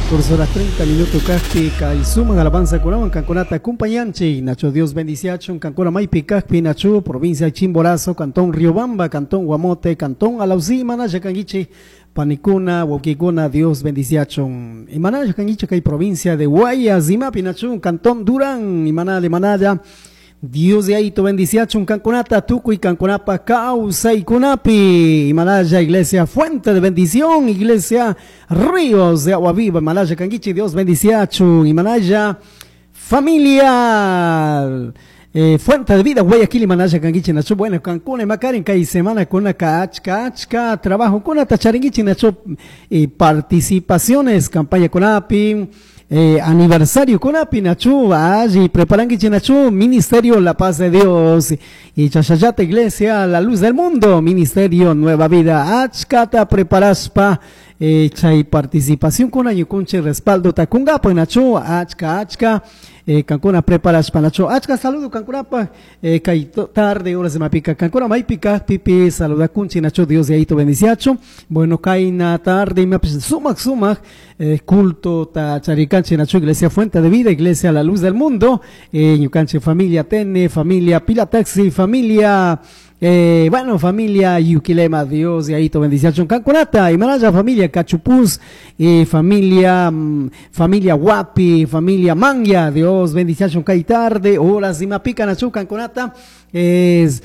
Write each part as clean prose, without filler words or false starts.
14 horas 30 minutos kajpi kay sumak alabanzakunawan kankunata acompañanchik. Nacho Dios bendiciachun kankuna maypi kajpi Nacho, provincia Chimborazo, cantón Riobamba, cantón Guamote, cantón Alausí, imanalla kankichik panikuna, wawkikuna, Dios bendiciachun. Imanalla kankichik kay provincia de Guayas, imapi Nacho, cantón Durán, imanalla, imanalla. Dios Yayito bendiciachun kankunata tukuy kankunapa kawsaykunapi. Imanalla iglesia fuente de bendición, iglesia ríos de agua viva, Imanalla kankichik, Dios bendiciachun. Imanalla familia fuente de vida, Guayaquil, Imanalla kankichik nacho, bueno, kankuna imakarin kay semana kuna achka achka trabajo kunata charinkichik nacho, participaciones, campaña kunapi, aniversario kunapi nachu, alli preparankichik nachu, Ministerio La Paz de Dios y Chashayata Iglesia La Luz del Mundo, Ministerio Nueva Vida, achkata preparaspa, chay participación kuna ñukunchik respaldo takunkapa nachu, achka achka, kankuna preparaspa nachu, achka saludo kankunapa, kay tarde horas de mapika kankuna maypi kajpipi saludakunchik nachu, Dios Yayito bendiciachu. Bueno, kayna tarde imapish sumak sumak, culto ta charikanchik nachu, Iglesia Fuente de Vida, Iglesia La Luz del Mundo, ñukanchik familia Tene, familia Pila Taxi, familia bueno, familia Yuquilema, Dios Yayito bendiciachun kankunata, imanalla familia Cachupuz, familia, familia Guapi, familia Manya, Dios bendiciachun kay tarde, horas imapika nachu kankunata, es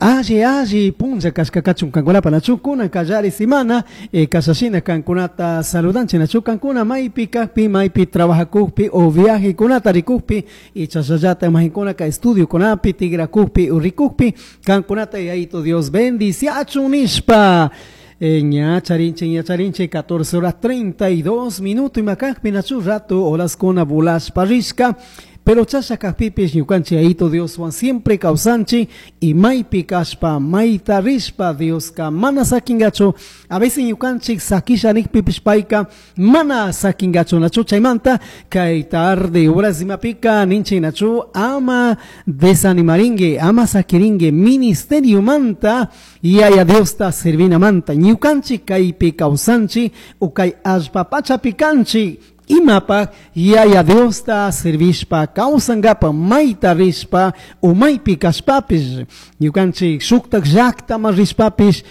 alli alli punlla kashkakachun kankunapa nachu, kunan kallari semana, kashashina kankunata saludanchik nachu, kankuna maypi kajpi, maypi trabajakujpi o viaje kunata rikujpi, y chashallata imajinkuna ka estudio kunapi, tigrakujpi o rikujpi, kankunata Yayito Dios bendiciachun nishpa. Ña charinche, ña charinche, 14 horas 32 minutos, y makajpi nachu rato, horas kuna bulash parishka. Pero chasha kajpipis ñukanchik Yayito Dios wan siempre kawsanchik y maypi kashpa, mayta rishpa Dioska mana sakingachu. A veces ñukanchik sakisha nikpipis payka mana sakingachu nachu. Chaymanta kay tarde horas imapika ninchik nachu, ama desanimaringue, ama sakiringue ministerio manta Yaya Diosta servina manta. Ñukanchik kaypi kawsanchik o kay allpa pachapi kanchik. Imapa Yaya Diosta servishpa kawsankapa mayta rishpa o maypi kashpapish ñukanchik shuktak llaktaman rishpapish,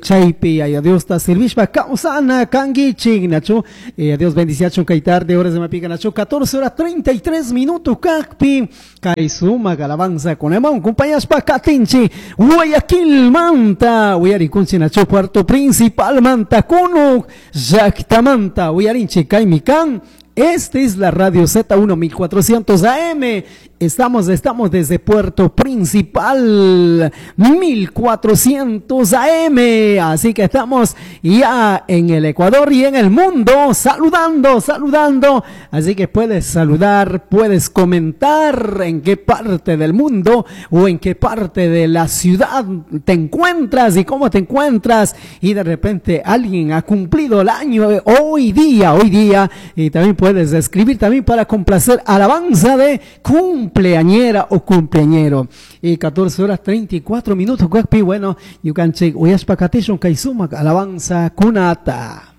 chaypi Yaya Diosta servishpa kawsana kankichik nachu. Dios bendiciachun kay tarde horas de mapika nachu, 14 horas 33 minutos kajpi kay sumak alabanza kunaman kumpayashpa katinchik Guayaquil manta uyarikunchik nachu, puerto principal manta kunuk llaktamanta uyarinchik kaymi kan. Esta es la Radio Z1 1400 AM. Estamos desde Puerto Principal 1400 AM. Así que estamos ya en el Ecuador y en el mundo saludando, saludando. Así que puedes saludar, puedes comentar en qué parte del mundo o en qué parte de la ciudad te encuentras y cómo te encuentras. Y de repente alguien ha cumplido el año hoy día, hoy día. Y también puedes escribir también para complacer alabanza de cumpleañera o cumpleañero. Y 14 horas 34 minutos, guapi, bueno, ñukanchik uyashpa katishun kay sumak alabanza kunata.